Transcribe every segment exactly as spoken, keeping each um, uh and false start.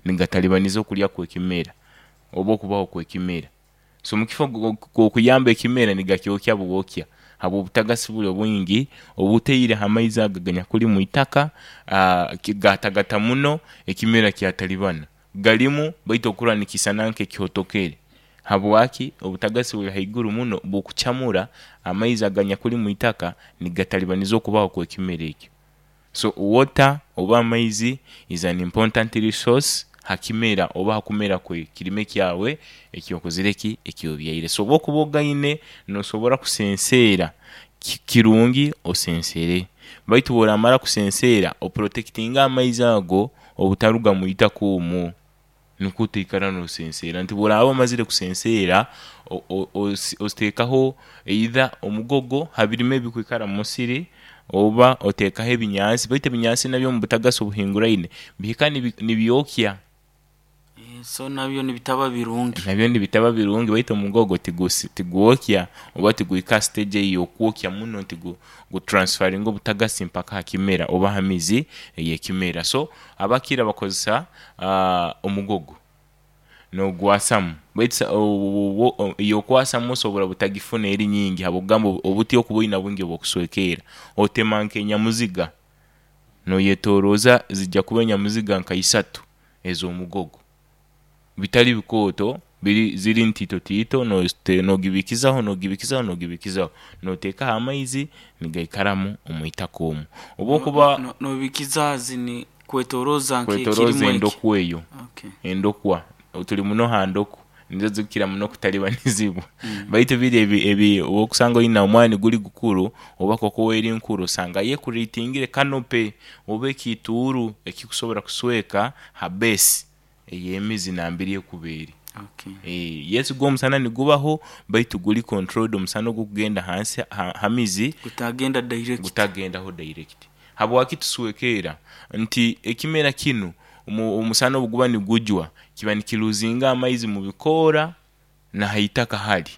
Nigatalibaniza okulya kw'ekimera oba okubaho kw'ekimera. So mukifo ky'okuyamba ekimera nigakyokya bwokya habw'obutagasi buli obwingi obuteire ha maizi ago aganyakuli mwitaka, aa gatagata muno ekimera kyatalibana. Galimu baitu okurora nikiisana nk'ekihotokere. Habwaki? Obutagasi buli haiguru muno bukucamura amaizi aganyakuli mwitaka nigatalibaniza okubaho kw'ekimera ekyo. So water oba amaizi is an important resource ha kimera oba hakumera kw'ekirime kyawe ekyokozire ki ekyobyaire. So obu okuba ogaine nosobora kusenseera, ki kirungi osensere baitu obworamara kusenseera opurotekitinge amaizi ago obutaruga mwitaka omwo nikwo otaikara nosenseera nti obworaba omazire kusenseera o- o- osi oteekaho either omugogo ha birime ebikwikara mumusiri oba oteekaho ebinyansi baitu ebinyansi nabyo omubutagasi obuhinguraine bihika nibi nibyokya. So nabyo nibitaba birungi. Nabyo nibitaba birungi baitu omugogo tigusi tigwokya oba tiguhika ha stage eyokwokya muno nti gu gutransferringe obutagasi mpaka ha kimera oba ha mizi ey'ekimera. So abakira bakozesa omugogo nogwasamu baitu sa obu eyokwasamu osobora butagifuna eri nyingi habwokugamba obuti okuba oyina bwingi obwokuswekeera, otema nk'enyamuziga noyetoroza zijja kuba enyamuziga nka isatu ez'omugogo bitali bikooto biri ziri ntiito tiito nozite nogibikizaho nogibikizaho nogibikizaho noteekaho amaizi nigaikaramu omwitaka omwo. Obu okuba No- Nobikiza zini kwetoroza kwetoroza nk'ekirimu eki. endokwa eyo, Okay. endokwa tuli muno ha ndokwa nizo zikukira muno kutalibanizibwa, Mm. baitu biri ebi ebi obu okusanga oyina omwani guli gukuru oba koko eri nkuru osanga yo ecreatingire canopy oba ekiituuru ekikusobora kusweka ha base ey'emizi nambere ekuba eri. Okay. Yes gwo omusana nigubaho baitu guli controlled omusana ogukugenda hansi ha ha mizi Gutagenda direct. Gutagendaho direct. Habwaki tuswekeera? Nti ekimera kinu omu omusana obu guba nigujwa kiba nikiruuzinga amaizi mu bikoora na haitaka hali.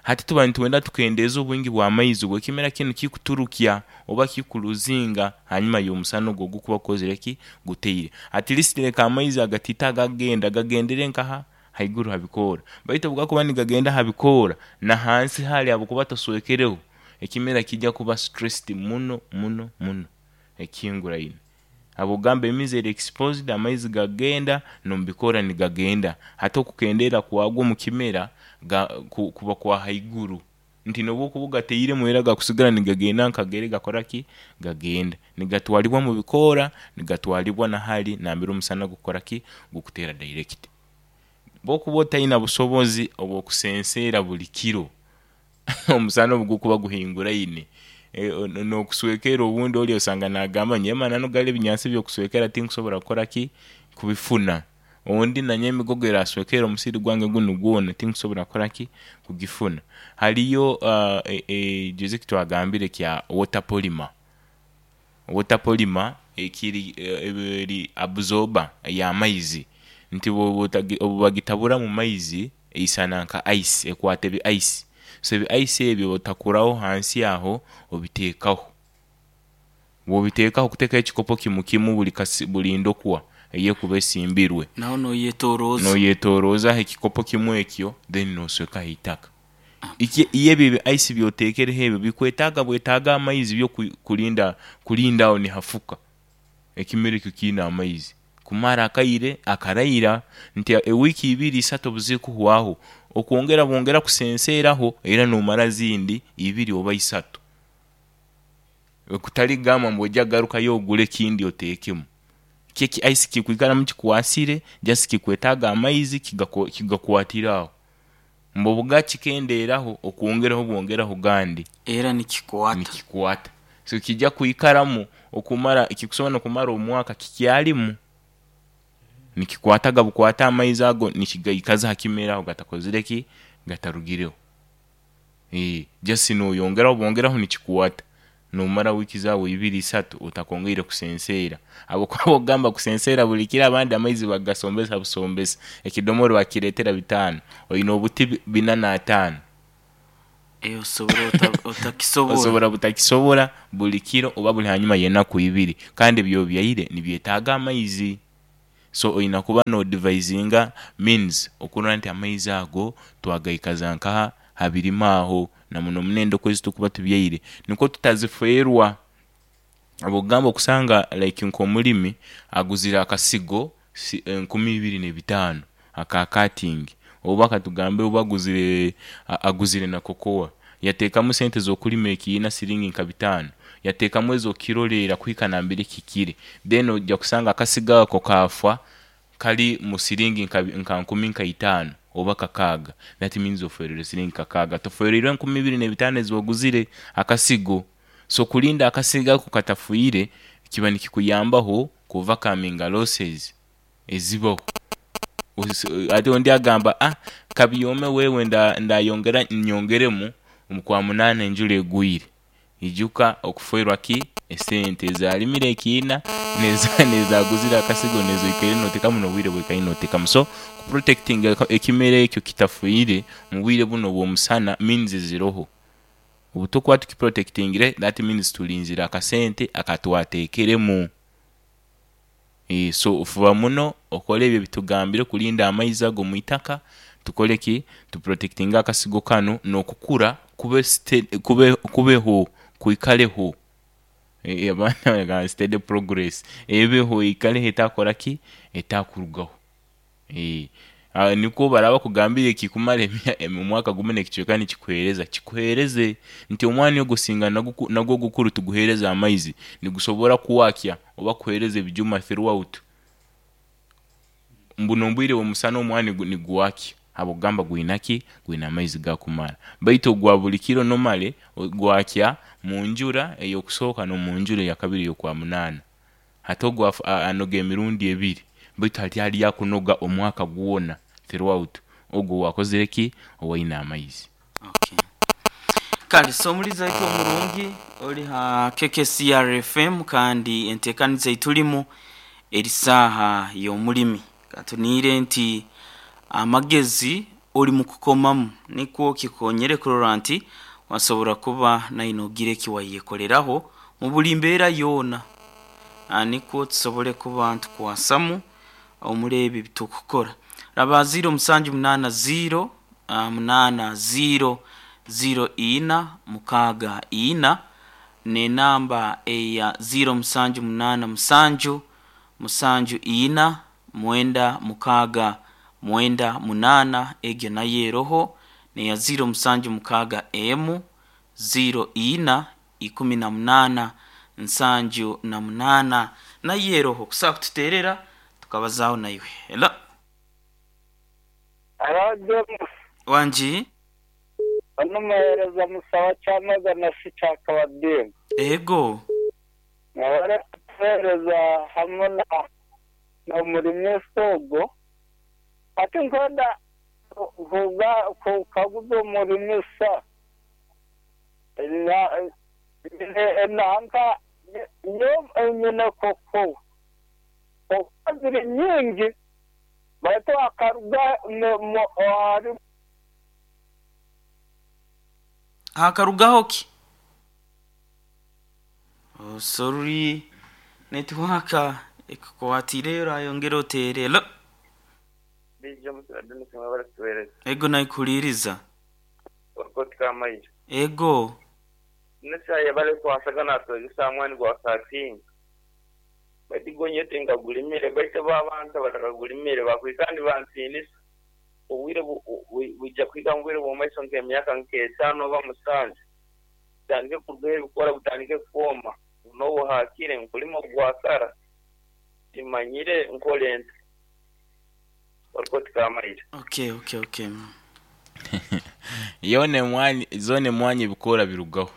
Hati tuba nitwenda tukendeeze obwingi bw'amaizi obw'ekimera kinu kikuturukya oba kikuluuzinga hanyuma y'omusana ogu ogukuba gukozire ki guteire. At least leka amaizi agatiito agakugenda gagendere nkaha haiguru ha bikoora, baitu obu gakuba nigagenda ha bikoora na hansi hali habwokuba toswekereho ekimera kiija kuba stressed muno muno muno ekihinguraine habwokugamba emizi eri exposed, amaizi gagenda n'omubikoora nigagenda, hati okukendeera kwago omu kimera ga ku kuba kwa haiguru nti nobu okuba ogatairemu era gakusigara nigagenda nkagere gakora ki gagenda nigatwalibwa mu bikoora nigatwalibwa na hali nambere omusana gukukora ki gukuteera direct. Obu okuba otaina busobozi obw'okusenseera buli kiro omusana obu gukuba guhinguraine, n'okuswekeera obundi oli osanga naagamba nyowe amananu gali ebinyansi eby'okuswekeera tinkusobora kukora ki kubifuna, ondi nanyowe emigogo eraswekeera omusiri gwange gunu gwona tinkusobora kukora ki kugifuna. Haliyo juuzi ekitwagambire ekya water polymer, water polymer ekiri eri absorber ey'amaizi nti bwoba obu bagitabura mu maizi eisana nka ice, ekwata ebi ice, so ebi ice ebi otakuraho hansi aho obiteekaho, obu obiteekaho okuteekaho ekikopo kimu kimu buli kasi buli ndokwa eyekuba esimbirwe. Naho noyetoroza. Noyetorozaho ekikopo kimwe ekyo then noswekaho eitaka. Ikye iwe ebyo ebi ice byoteekereho ebyo bikwetaaga bwetaaga amaizi byo ku- kulinda kulinda aho nihafuka ekimera ekyo kiine amaizi kumara akaire akaraira nti ewiiki ibiri isatu obu zikuhwaho okwongera bwongera kusenseeraho era nomara ezindi ibiri oba isatu okutali kugamba ngu oija kugarukayo ogule ekindi oteekemu. Kyo eki ice kikwikaramu kikwasire just kikwetaaga amaizi kigaku kigakwatire aho, mbu obugakikendeeraho okwongeraho bwongeraho gandi. Era nikikwata. Nikikwata so kiija kwikaramu okumara kikusobora n'okumara omwaka kikyalimu nikikwataga bukwata amaizi ago nikigaikaza ha kimera aho gatakozire ki gatarugireho, just noyongeraho bwongeraho nikikwata nomara wiiki zaawe ibiri isatu otakongeire kusenseera habwokuba obu okugamba kusenseera buli kiro abandi amaizi bagasombesa busombesa, ekidomora bakireetera bitaano, oyina obuti bi- bina n'ataano. Osobora otakisobora. Osobora butakisobora buli kiro oba buli hanyuma y'enaku ibiri kandi ebi obyaire nibyetaaga amaizi. So oina kuba nodevisinga means okurora nti amaizi ago twagaikaza nkaha habirima aho, na muno muno endokwa ezi tukuba tubyaire nikwo tutazifeerwa. Obwokugamba okusanga like nk'omulimi aguzire akasigo si- enkumi ibiri n'ebitaano aka cutting, oba katugambe oba aguzire a- aguzire na cocoa, yateekamu sente z'okulima ekiina siringi nka bitaano, yateekamu ez'okukirolerra kuhika nambere kihikire, then ojja kusanga akasigo ako kaafa kali mu siringi nka nka nkumi nka itaano oba kakaaga. That means ofeereirwe siringi kakaaga, tofeereirwe enkumi ibiri n'ebitaano ezi waguzire akasigo. So kulinda akasigo ako katafiire kiba nikikuyambaho ku overcominga losses ezibaho. Osi- ate ondi agamba, ah, kabyome wewe nda- ndayongera nyongeremu omu kwa munaana enjura egwire, ijuka okufeerwa ki esente ezalimire ekiina neza nezaguzire akasigo nezoikaire noteekamu n'obwire bwoikaire noteekamu. So kuprotectinga ekimera ekyo kitafiire mu bwire bunu obw'omusana means ziroho. Obu tukuba tukiprotectingire, that means tulinzire akasente akatwateekeremu. E, so fuba muno okole ebyo ebitugambire kulinda amaizi ago mu itaka, tukole ki, tuprotectinge akasigo kanu n'okukura kube ste- kube kubeho kwikaleho. E, abaana bagamba steady progress ebeho eikaleho etakora ki, etakurugaho. E, ah, nikwo baraba bakugambire kikumara emya- omwaka gumu n'ekicweka nikikuheereza, kikuheereze nti omwani ogwo singa nagwo nagwo gukuru tuguheereze amaizi nigusobora kuwakya oba kuheereza ebijuma throughout. Mbuno obwire bw'omusana omwani gu- niguwakya habwokugamba gwina ki, gwina amaizi gakumara, baitu ogwa buli kiro nomale gwakya mu njura ey'okusooka n'omu njura eyakabiri ey'okwa munaana. Hati ogu afu- a- anoga emirundi ebiri, baitu hati hali akunoga omwaka gwona throughout, ogu owakozire ki, owaine amaizi. Okay. Kale so omulizi waitu omurungi ori ha K K C R F M, kandi enteekaniza eitulimu eri saaha y'omulimi. Katuniire nti amagezi ori mu kukomamu nikwo kikonyere kurora nti wasobora kuba naine ogira eki wayekoleraho mu buli mbeera yoona. Ah, nikwo tusobole kuba ntukwasamu omuri ebi bitukukora. Raba ziro musanju munaana ziro ah, munaana ziro ziro ina mukaaga ina, n'enamba eya ziro musanju munaana musanju musanju ina mwenda mukaaga mwenda munaana, egyo nayo eroho, neya ziro musanju mukaaga emu ziro ina ikumi na munaana nsanju na munaana, nayo eroho kusobola kututeerera tukabazaaho naiwe. Hello. Arajemo. Wangi. Onumuhereza musaba cyamagana si cyakabadini. Ego. Nkabara kuhereza hamwe na na murimi sogo ati nkonda kuga kukaguza umurimi sa na nanka yo nyine koko koko ziri nyingi baitu akaruga mu- mu- hari Hakarugaho ki? Oh, sorry, network ekukwatire, orayongera oteere. Hello. Bija muturadini mwabara kutuhereza. Ego, naikuliriza. Orikoti kamayira. Ego. Nesa yabale kwasaga natwegesa mwani gwa thirteen. Bati gonyete ngagulimire baite babantu batakagulimire bakwikandi bansinisa. Obwire bu- bu- bujja kwiga mu bwire bw'omumaiso nk'emyaka nk'etaano oba musanju. Butandike kurugaho ebikora butandike kwoma. N'obuhaakire nkulima gwakara. Timanyire nkole nta. Orikoti kamayira. okay okay okay Yona emwanyi zoona emwanyi ebikoora birugaho,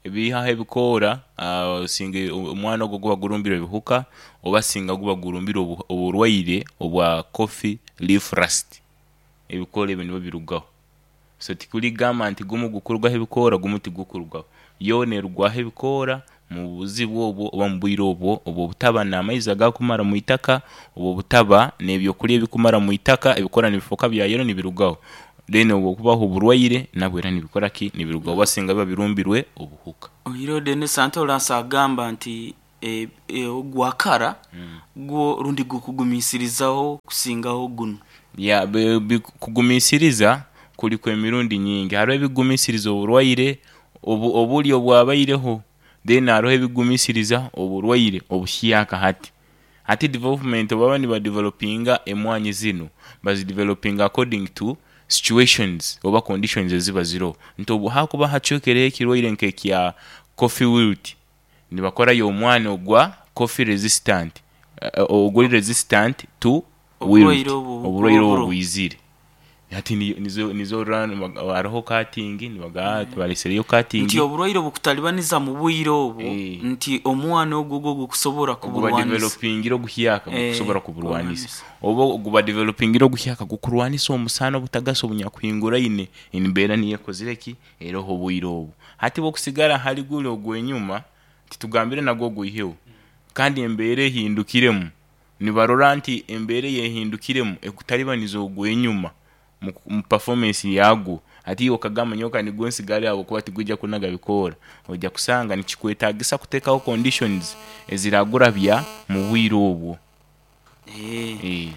ebihaho ebikoora, ah, singa omwana ogwo guba gurumbire ebihuka oba singa guba gurumbire obu- oburwaire obwa coffee leaf rust, ebikoora ebyo nibyo birugaho. So tikuligamba nti gumu gukurugaho ebikoora gumu tigukurugaho, yoona erugwaho ebikoora mu buzibu obwo oba mu bwire obwo obwo obutaba n'amaizi agakumara mu itaka, obwo obutaba n'ebyokurya ebikumara mu itaka, ebikoora nibifuuka bya yero nibirugaho. Then obwo okubaho oburwaire nabwo era nibikora ki, nibirugaho oba singa biba birumbirwe obuhuka. Oiro Denis Antolas agamba nti e, e, ogwakara gwo rundi gukugumisirizaho kusingaho guno. Ya, be- bi- kugumisiriza kuliku emirundi nyingi. Hariho ebigumisiriza oburwaire obu obuli obwabaireho, then hariho ebigumisiriza oburwaire obuhyaka. Hati hati development, baba nibadevelopinga emwanyi zinu, bazidevelopinga according to situations oba conditions eziba ziroho, nti obu hakuba hacwekereho ekirwaire nk'ekya coffee wilt, nibakorayo omwani ogwa coffee resistant, eh, oguli resistant to wilt. Oburwaire obu Oburwaire obu obu buroho. Bwizire hati ni- nizo nizo run- hariho cutting, nibagaa balesereyo cutting. Nti oburwaire obukutalibaniza mu bwire obwo, Eh. nti omwana ogwo gwo gukusobora Guba kuburwanisa. developingira oguhyaka Eh, gukusobora kuburwanisa. Kurwanisa. Oba guba developingira oguhyaka gukurwanisa omusana obutagasa obunyakuhinguraine embeera niyo ekozire ki eroho obwire obu. Hati bwokusigara hali guli ogw'enyuma, titugambire nagwo gwiheho, kandi embeera ehindukiremu, nibarora nti embeera eyehindukiremu ekutalibaniza ogw'enyuma mu mu performance yagwo. Ati iwe okagamba nyowe nigwo nsigale habwokuba tigwijja kunaga bikoora, ojja kusanga nikikwetagisa kuteekaho conditions eziragurabya mu bwire obwo. Eh. Eh.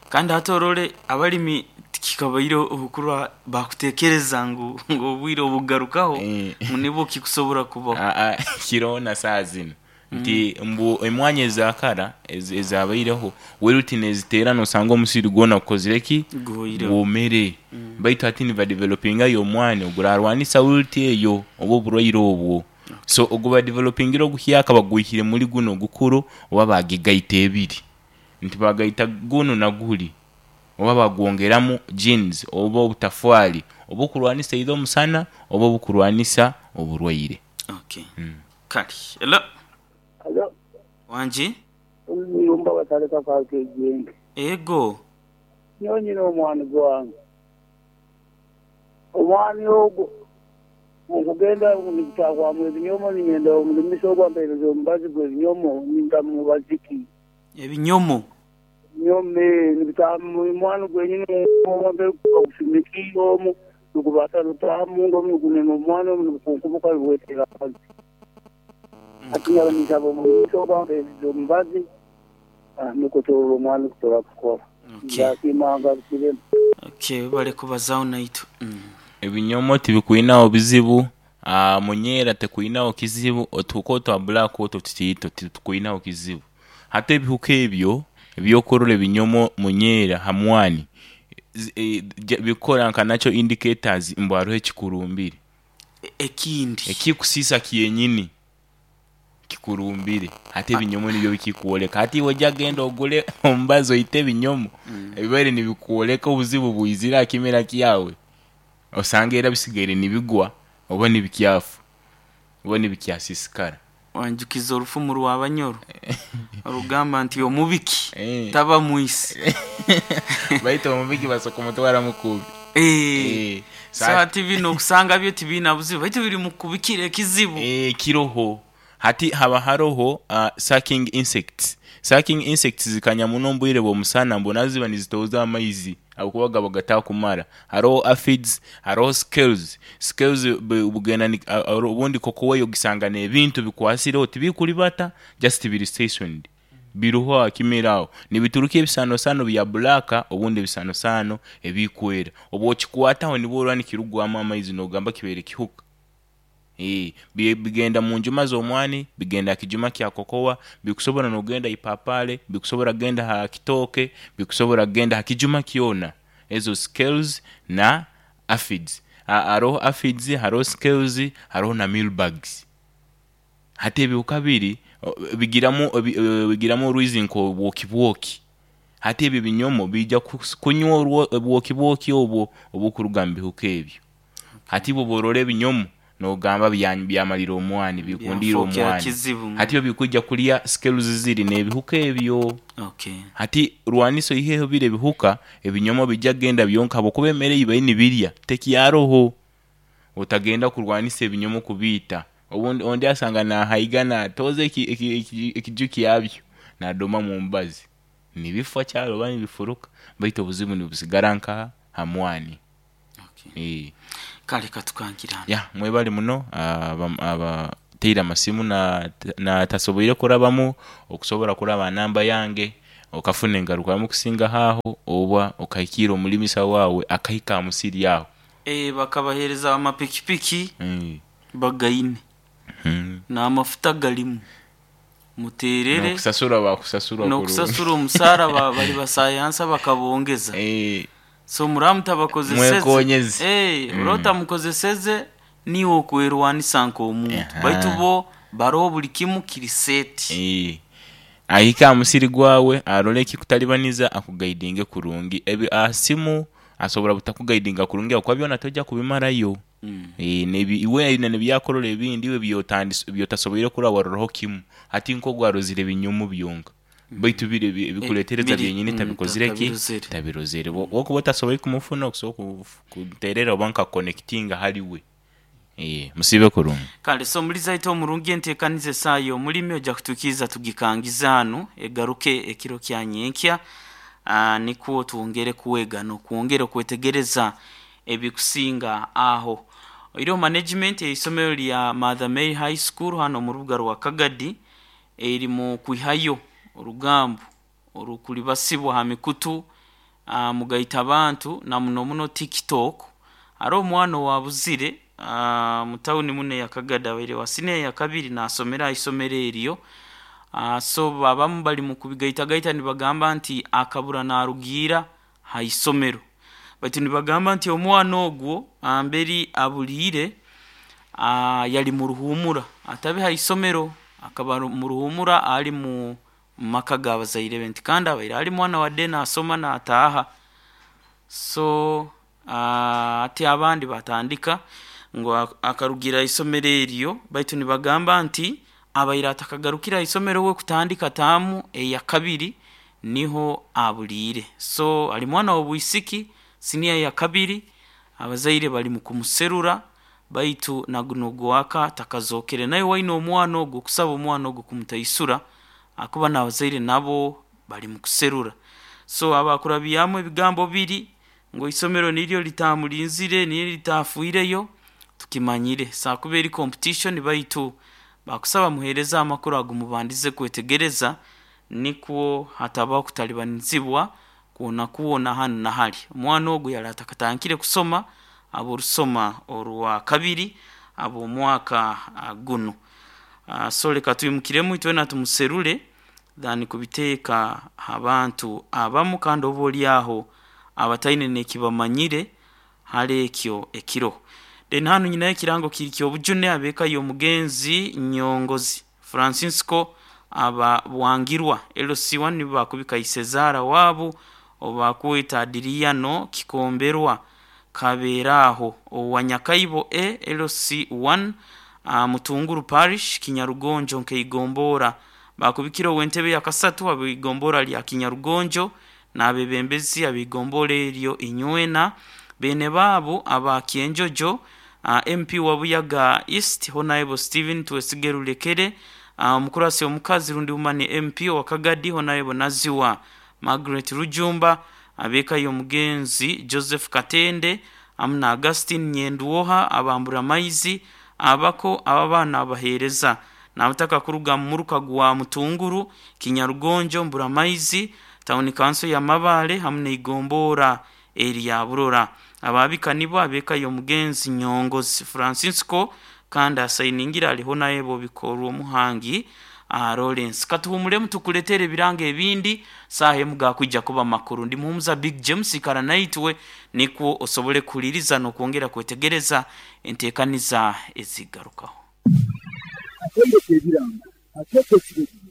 Kandi hati orole abalimi tikikabaire okurwa bakutekereza ngu ngu obwire obugarukaho Eh. ngu nibwo kikusobora kubaho. Ah, ah, kiroho na saa zino nti mbu emwanya ezakara ez- ezabaireho wilt neziteera, nosanga omusiri gwona gukozire ki? Guhoireho. Gwomere. Baitu hati nibadevelopingayo omwani ogurarwanisa wilt eyo oba oburwaire obwo. So ogubadevelopingira oguhyaka bagwihire muri guno ogukuru, oba bagigaita ebiri, nti bagaita guno na guli, oba bagwongeramu genes oba obutafwali obukurwanisa either omusana oba obukurwanisa oburwaire. Okay, kale elo. Alo. Wangi. Omuyumba bataleka kakejenge. Ego. Nyowe nyina omwani gwange, omwani ogwo nkugenda nigutahwamu ebinyomo, ninyenda omulimisa ogwo ampereza omubazi gw'ebinyomo, nindamu mubaziki. Ebinyomo. Nyome nibitamu omwani gwenyini ogusumikire omu nigubasa rutahamu omu nigunena omwani omu nigukunkubuka bwetera akazi. Ati nyaba ninsaba omulimisa ogwo ampereza omubazi, ah, nukwo turora omwani kutora kukora. Okay. Ndasiima ngarukiremu. Okay, bale kubazaho naitu mm. Ebinyomo tibikwinaho bizibu, ah, munyeera tekwinaho kizibu, otuhuka otwa black otwo tutiito titukwinaho kizibu. Hati ebihuka ebyo ebyokurora ebinyomo munyeera hamwani zi- eh, ja- bikora nka nakyo indicators mbu hariho ekikurumbire. E- ekindi Ekikusiisa kyenyini kikurumbire. Hati ebinyomo nibyo bikikwoleka. Hati iwe ojja genda ogule omubazi oite ebinyomo ebibaire nibikwoleka obuzibu bwizire aha kimera kyawe, osanga era bisigaire nibigwa oba nibikyafa oba nibikyasisikara. Wanjukiza orufumu rw'abanyoro orugamba nti omubiki Eh. taba mwisi. Baitu omubiki basoka kumutwara mukubi. Eh. Eh, So hati bino okusanga byo tibiina buzibu, baitu biri mu kubikira ekizibu. Eh, kiroho hati haba haroho uh, sucking insects. Sucking insects zikanya muno omu bwire bw'omusana, mbona ziba nizitooza amaizi habwokuba gaba gatakumara. Haroho aphids, haroho scales. Scales bu- bugenda ni- a- a- obundi kokowa eyo gisanga n'ebintu bikwasireho tibikuribata, just biri stationed biruho aha kimera aho nibituruka ebisanosano bya black, obundi ebisanosano ebikwera. Obu okikwataho nibwo orora nikirugwamu amaizi, nogamba kibaire kihuka. Eh, bi- bigenda mu njuma z'omwani, bigenda ha kijuma kya kokowa, bikusobora nogenda ipapale, bikusobora genda ha kitooke, bikusobora genda ha kijuma kyona. Ezo scales na aphids. Ha- haroho aphids, haroho scales, haroho na mealybugs. Hati ebihuka biri o- bigiramu ebi- eh, bigiramu orwizi nk'obwoki bwoki. Hati ebyo ebinyomo bijja kus- kunywa orwo- obwoki bwoki obwo obukuruga mu bihuka ebyo. Hati bwo borora ebinyomo nogamba bya- byamalira omwani, bikundira Byafookera omwani. kizibu. Hati byo bikujja kulya scales ziri n'ebihuka ebyo. Okay. Hati rwanisa oiheho biri ebihuka, ebinyomo bijja genda byonka habwokuba emere ei bari nibirya tekyaroho. Otagenda kurwanisa ebinyomo kubiita. Obundi ondi asanga nahaiga natoza eki- eki- eki- ekiju kyabyo nadoma mu mbazi nibifa kyaro oba nibifuruka, baitu obuzibu nibusigara nkaha hamwani. Okay. Eh. Kale katukankirana. Ya, mwebale muno aba, aba Nteire amasimu na natasoboire kurabamu, okusobora kuraba namba yange okafuna engarukamu kusinga aho oba okahikiira omulimisa waawe akahika aha musiri aho. Eh, bakabahereza amapikipiki Mm. bagaine Mm. n'amafuta galimu muterere N'okusasura bakusasura n'okusasura omusaara ba- bali basayansa bakabongeza. Eh, So muramu tabakozeseze. Mwekonyeze. Eh, Mm. urota mukozeseze niwe okwerwanisa nk'omuntu. Aha. Baitu bo baroho buli kimu kiri seti. Eh, ahika aha musiri gwawe arole ekikutalibaniza akugaidinge kurungi. Ebi asimu asobora butakugaidinga kurungi akuba byona tojja kubimarayo. Mm. Eh, nebi iwe aine nebyakorora ebindi iwe byotandis byotasoboire kuraba waroraho kimu hati nko gwarozire binyumu byonka baitu biri ebi- ebikuletereza biri- byenyini mm, tabikozire ki tabirozere. tabirozere. Wokuba otasoboire kumufuna okusobola kuterera oba nka connectinga hali we. Eh, musibe kurungi. Kale so muliza ito omurungi enteekaniza esaayo omulimi ojja kutukiiza tugikangiza hanu egaruke ekiro kya nyenkya. Ah, nikwo twongere kuwega n'okwongera okwetegereza ebikusinga aho. Oiro management eisomero lya Mother Mary High School hano mu rubuga rwa Kagadi eri mu kwihayo orugambo orukulibasibwa ha mikutu, ah, mugaita abantu na muno muno TikTok. Hariho omwana owabuzire, ah, mu tawuni muno eya Kagadi abaire wa siniya ya kabiri nasomera aha isomero eryo. Ah, so abamu bali mu kubigaitagaita nibagamba nti akabura narugiira ha isomero, baitu nibagamba nti omwana ogwo amberi abuliire, ah, yali mu ruhumura atabe ha isomero, akaba mu ruhumura ali mu maka g'abazaire be nti kandi abaire ali mwana wadde nasoma nataaha. So ah, ati abandi batandika ngu akarugira isomero eryo, baitu nibagamba nti abaire atakagarukira isomero we kutandika taamu eya kabiri niho abuliire. So ali mwana w'obwisiki siniya ya kabiri, abazaire bali mu kumuserura baitu naguno gwaka takazokere. Naye waine omwana ogwo okusaba omwana ogwo kumutaisura akuba n'abazaire nabo bali mu kuserura. So abakurabyamu ebigambo biri ngu isomero niryo litamulinzire niryo litafuireyo tukimanyire sakuba eri competition, baitu bakusaba muhereza amakuru ago mubandize kwetegereza nikwo hatabaho kutalibanizibwa kwona kuwona hanu na hali. Omwana ogwo yali atakatandikire kusoma aborusoma orwa kabiri ab'omwaka ah, guno. Ah, so leka twimukiremu itwena tumuserure thani kubiteeka abantu abamu kandi oba oli aho abataine nekibamanyire hali ekyo ekiro. Then hanu nyinayo ekirango kiri ky'obujune abeeka y'omugenzi Nyongozi Francisco aba Bwangirwa L C one nibo bakubika Isezaara waabo obakweta Adiriano Kikomberwa Kabeeraho owa Nyakaibo A L C one, uh, Mutunguru Parish Kinyarugonjo nkeigombora bakubikira ow'entebe ya kasatu abigombora lya Kinyarugonjo n'abebembezi abigombora eryo inywena bene baabo aba Kyenjojo, uh, M P wa Buyaga East Honorable Stephen Twesige Rulekere, uh, omukurasi omukazi rundi umane M P wa Kagadi Honorable Naziwa Margaret Rujumba, abeeka y'omugenzi Joseph Katende amuna Augustine Nyenduoha abambura maizi abako ababaana abaheereza n'abataka kuruga mu muruka gwa Mutunguru Kinyarugonjo Mbura Maizi Town Council ya Mabale hamwe n'igombora erya Burora. Ababika nibo abeeka y'omugenzi Nyongozi Francisco kandi asayiningira aliho naye bo bikorwa omuhangi uh, Lawrence. Katuhumulemu tukuletere ebiranga ebindi saaha emu gakwijja kuba makuru. Ndi muhumuza Big James ikara naitwe nikwo osobole kuhuliriza n'okwongera kwetegereza enteekaniza ezigarukaho. Akatebe k'ebiranga, akatebe k'ebiranga.